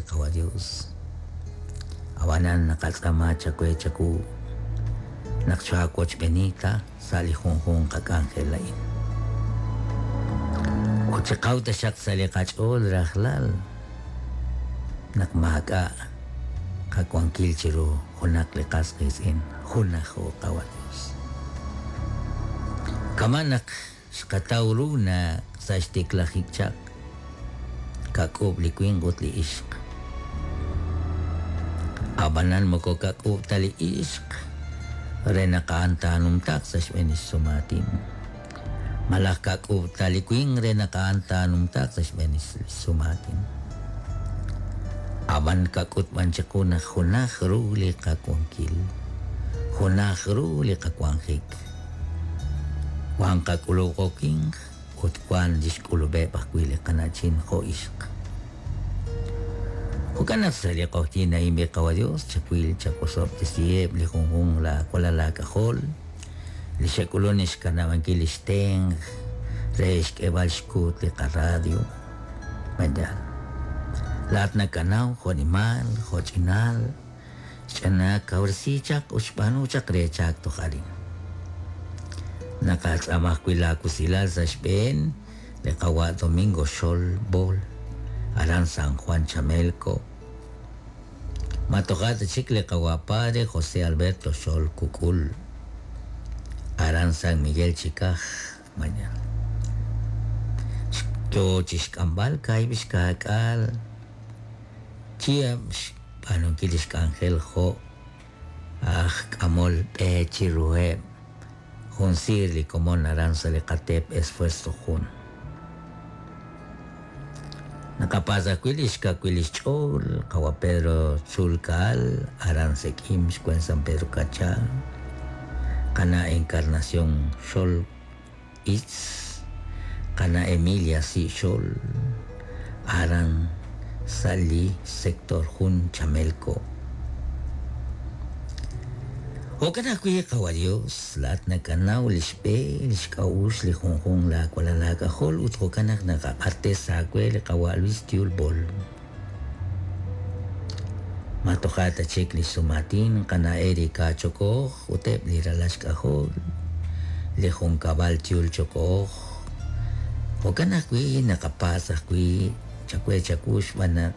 Qawa' Dios. Ab'anan naqatz'aama chawe chawu naq chaawochb'eeni ta sa' li junjunq qak'anjel a'in. Ut chiqaw taxaq sa' li qach'ool rajlal naq maak'a' qawankil chiru junaq li qas qiitz'in, junajo Qawa' Dios. Kama' naq xqataw ru naq sa' xtiklajik chaq kak'uub' li winq ut li ixq. Ab'anan moko kak'uub' ta li ixq re naq a'an taanumtaaq sa' xb'een li xsumaatin. Malaj kak'uub' ta li winq re naq a'an taanumtaaq sa' xb'een li xsumaatin. Ab'an kak'ut b'an chiqu naq junaj ru li qawankil, junaj ru li qawanjik. Wan qak'ulub' jo' winq ut wan li xk'ulub'eb' ajwi' li qana'chin jo' ixq. Jo'kan naq sa' li q'oqyink a'in li Qawa' Dios chawil chawosob'tesiheb' li junjunq laawalal laak'ajol li xe'k'ulunk xkanab'ankil li xtenq re xk'eeb'al xkuut li qaradio. Mañana. Laa'at nakanaw jo'nimal, jo'ch'inal, xch'anaak kawresi chaq ut xb'aanu chaq re chaak toj arin. Naqatz'aama ajwi' laawusilal sa' xb'een li Qawa' Domingo Xol Bol, aran San Juan Chamelco. Ma toja' ta chik li Qawa' Padre José Alberto Xol Kukul, aran San Miguel Chicaj, mañana. Yo chi xk'amb'al kaahib' xkaak'aal chihab' xb'aanunkil li xk'anjel jo' aj k'amol b'e chiruheb' jun siir li komon aran sa' li qateep Esfuerzo jun. Naqapatz' ajwi' li xkawil li xch'ool Qawa' Pedro Tzulkaal aran Sek'im xkwen San Pedro Kachá, qana' Encarnación Xol Itz, qana' Emilia Si' Xol aran sa' li sector jun Chamelco. Jo'kan ajwi' Qawa' Dios, laa'at nakanaw li xb'e, li xk'a'uxl li junjunq laawalal laak'ajol ut jo'kan naq naqaq'axtes aawe li Qawa' Luis Tiul Bol. Ma toja' ta chik li xsumaatin qana' Erika Chokoj ut eb' li ralal xk'ajol, li junkab'al Tiul Chokoj. Jo'kan ajwi' naqapatz' ajwi' chawe chawu xb'aan naq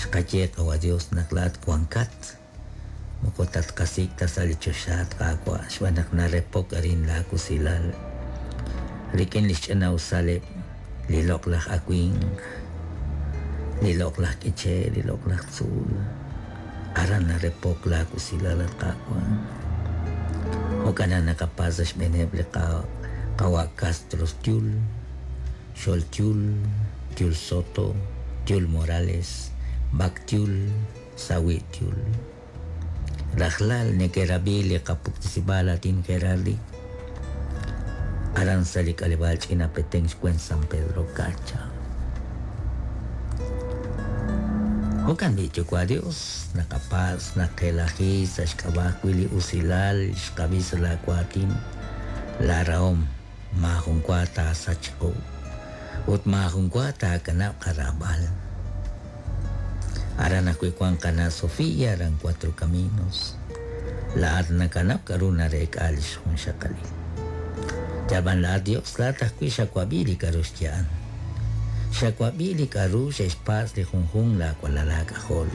xqaye Qawa' Dios naq laa'at wankat, moko tatqasik' ta sa' li choxa at Qaawa' xb'aan naq narepok arin laawusilal rik'in li xch'ina'usaleb' li loq'laj awimq, li loq'laj k'iche', li loq'laj tzuul. Aran narepok laawusilal at Qaawa'. Jo'kan naq naqapatz' sa' xb'eeneb' li Qawa' Castro Tiul, Xol Tiul, Tiul Soto, Tiul Morales, Bac Tiul, Sawi' Tiul. Rajlal neke'rab'i li qapuktesib'aal aatin Gerardi aran sa' li k'aleb'aal Ch'ina Petén xwen San Pedro Cacha. Jo'kan b'i' Yuwa' Dios, naqapatz' naqelaji sa' xk'ab'a' ajwi' li usilal xqab'i sa' laawaatin, laarahom maajun wa taasachq qu ut maajun wa taakanab' qaraab'al. Aran ajwi' wank qana' Sofía aran Cuatro Caminos. Laa'at nakanab' k'aru nareek'a li xjunxaqalil. Yal b'an laa'at Dios, laa'at ajwi' xawab'i li k'aru xya'an. Xawab'i li k'aru xe'xpatz' li junjunq laawalal laak'ajol.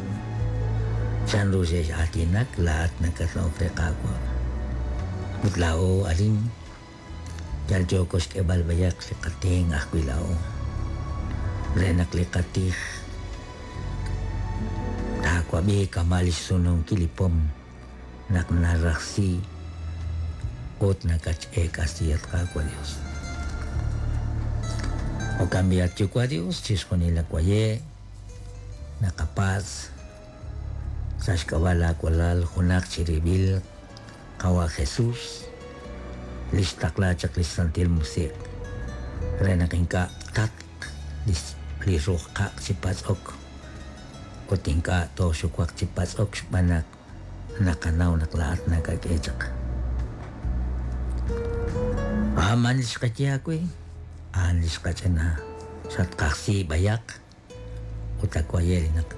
Chanru xe'x'aatinak laa'at nakatna'ok re Qaawa'. Ut laa'o arin yal yooko xk'eeb'al b'ayaq li qatenq ajwi' laa'o re naq li qatij taawab'i kama' li xsununkil li pom naq narajsi ut nakatx'eek'asi at Qaawa' Dios. Jo'kan b'i' at Yuwa' Dios chixjunil lawaye' naqapatz' sa' xk'ab'a' laawalal junaq chirib'il Qawa' Jesús li xtaqla chaq li xsantil musiq' re naq ink'a' tatq li ruj qaq' chi patz'ok ut ink'a' tooxuwaq chi patz'ok xb'aan naq naqanaw naq laa'at nakak'e chaq. A'an li xqaye aawe, a'an li xqach'ina xatqajsi b'ayaq ut awaye' li naqakana.